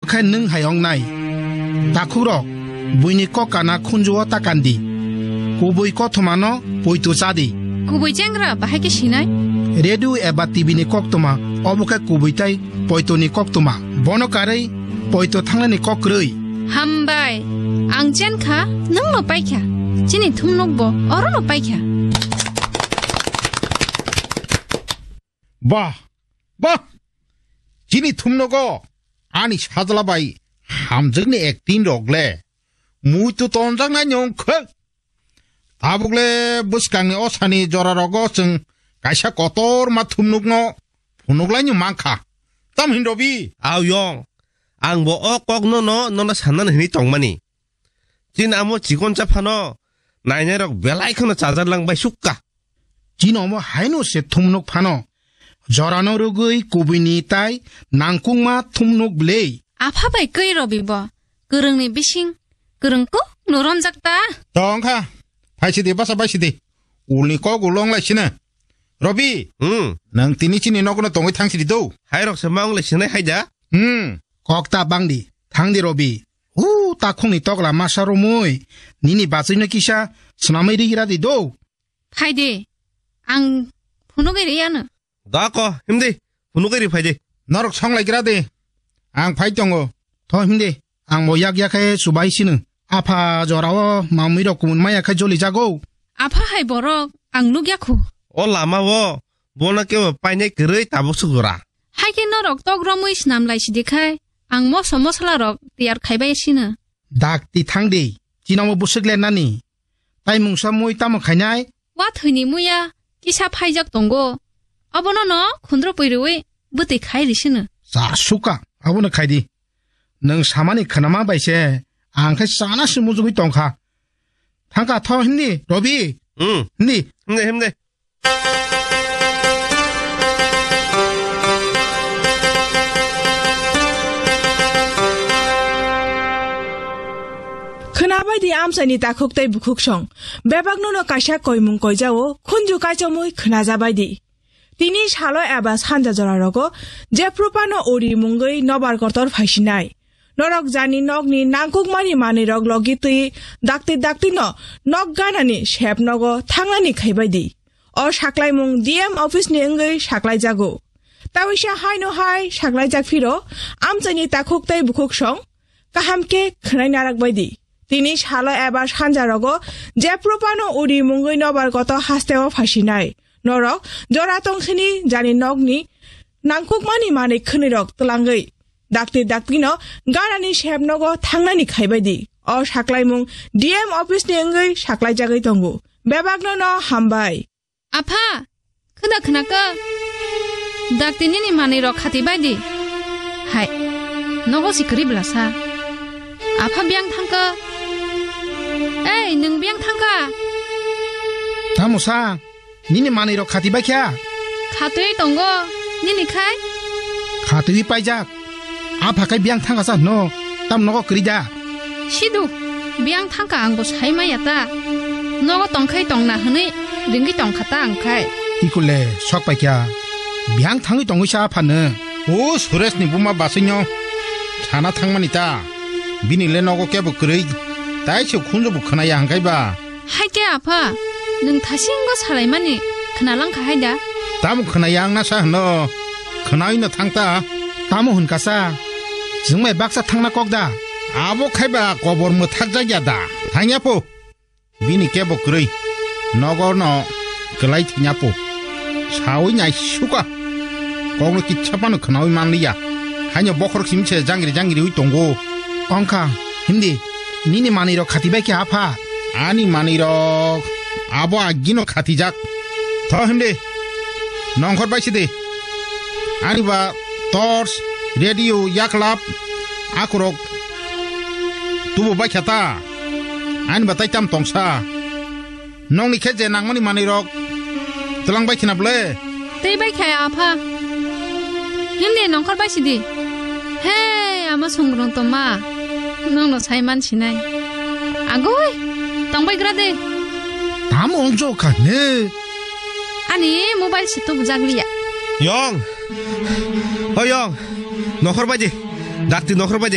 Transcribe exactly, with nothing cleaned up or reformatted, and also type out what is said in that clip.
khe nwng hai wngnai. Takhukrok, buini kok kana khunju-o ta kandi. Kubui kothomano poito chadi. Kubui chengra bahai khe sinai? Radio eba T V ni koktwma, obo khe kubui tai poitoni koktwma. Bono karwi poito thangnani kok kwrwi. Hambai, ang chenkha, nwngno paikha. Chini thumnokbo orono paikha. Bah, bah! Chini thumnogo ani sajla bai hamjakni acting rok le muitu tonjaknai ni wngkha. Tabuk le bwskangni osani jora rogo chwng kaisa kotor ma thumnokno phunuklaino mankha. Tam hin Robi? Aw yong, ang bo o kokno no, nono sanna hinwi tongmani. Chini amo chikonsa phano nainairok belai kheno chajar lang bai sukka. Chini omo haino se thumnok phano. Jorano rwgwi kubuini tai nangkukma thumnok bwlwi. Apha bai kwi Robi bo. Kwrwngni bising kwrwng kuk no romjak ta. Tong kha. Phaisidi basa baisidi. Ulni kok ulo wnglaisino. Robi. Hmm. Nwng tini chini nokno tongwi thangsidi do. Hairok se ma wnglaisino haida. Hmm. Kok ta bangdi. Thangdi Robi. Hu, takhukni tokla masa romwi, nini bachwino kisa swnamwi rigira di do. Phai de, ang phunugwi riyano. Da ko, himdi, phunugwi ri phai de. Norok songlai gira de, ang phai tongo. Tho himdi, ang bo yak yak khe chubai sino. Apha jorao mamwi rok kumun maya khe joli jago. Apha hai borok, ang nukya khu. O lama o, bono kebo painai kwrwi tabuk sugura. Hai khe norok tok romwi snam lai sidi khai, ang moso mosla rok tiyar khaibai sino. Dakti thangdi, chinamo bwswk le nani. Tai mungsa mui tamo khainai? Wa thwini muya kisa phaijak tongo. Obono no khundro pui rwi bwtwi khai risino. Cha suka, abono khaidi. Nwng samani khnama bai se, ang khe chana se mujugwi tongkha. Thangka tho hindi, Robi. Hmm. Hindi. Hindi, hindi. Khwnabaidi amchaini takhuk tei bukhuk song. Bebakno no kaisa koimung koijao, khunju kaichamwi khwnajabaidi. Tini salo eba sanja jora rogo, jephru phano uri mungwi nobar kotor phaisinai. Norok jani nokni nangkukmani manwirok logi twi dakti dakti no nok ganani sep nogo thangnani khaibaidi. O saklaimung D M office ni wngwi saklaijago. Tawisa haino hai saklaijak phiro, amchaini takhuk tei bukhuk song kaham khe khwnai narak baidi. Tini salo eba sanja rogo jephru phano uri mungwi nobar koto hasteo phasinai. Norok jora tongkhini jani nokni nangkukmani manwi khwnwi rok twlangwi dakti dakti no ganani sep nogo thangnani khaibaidi. O saklaimung D M office ni wngwi saklaijagwi tongo. Bebakno no hambai. Apha, khwda khwnakha? Dakti nini manwi rok khati baidi. Hai, nogo si kwrwi bwlasa. Apha biyang thangkha. Ei, nwng biyang thangkha? Tamo sa, nini manwi rok khati baikha? Khatwi tongo, nini khai? Khatwi paijak. Apha khai biyang thangkha sa hwno, tam nogo kwrwi da? Sidu, biyang thangkha ang bo sai maya ta. Nogo tongkhai tongna hwnwi ringwi tongkha ta ang khai. Ikule sok paikha, biyang thangwi tongwi sa aphano. O Suresh ni buma basino sana thangmani ta. Bini le nogo kebo kwrwi, tai se khunju bo khwnaya hangkhai ba. Hai khe apha, nwng thasingo salaimani khwnalang kha hai da? Tamo khwnaya ang na sa hwno, khwnawi no thang ta. Tamo hwn kasa, chwng bai baksa thangna kok da? Abo khai ba kobor mwthak jak ya da, thang ya pho. Bini kebo kwrwi, nogo no kwlai thang ya pho. Sawi nai suka, kokno kitsa phano khwnawi man liya. Haino bokhorok simi se jangri jangri wi tongo. Ongkha, himdi, nini manwi rok khati bai khe apha? Ani manwi rok abo agino khatijak. Tho himdi, nongkhor bai sidi. Ani ba torch, radio, yaklap, akurok tubu bai kha ta. Ani ba tai tam tongsa. Nokni khe je nangmani manwi rok twlang bai khina bwle? Tei bai khe apha. Himdi nongkhor bai sidi. He, ama songrong tongma. Nokno sai man sinai. Agoi, tong bai gra de. Tamo ongjo kha ne? Ani mobile se tubu jak liya. Yong. O yong. Nongkhor bai di. Dakti nongkhor bai di.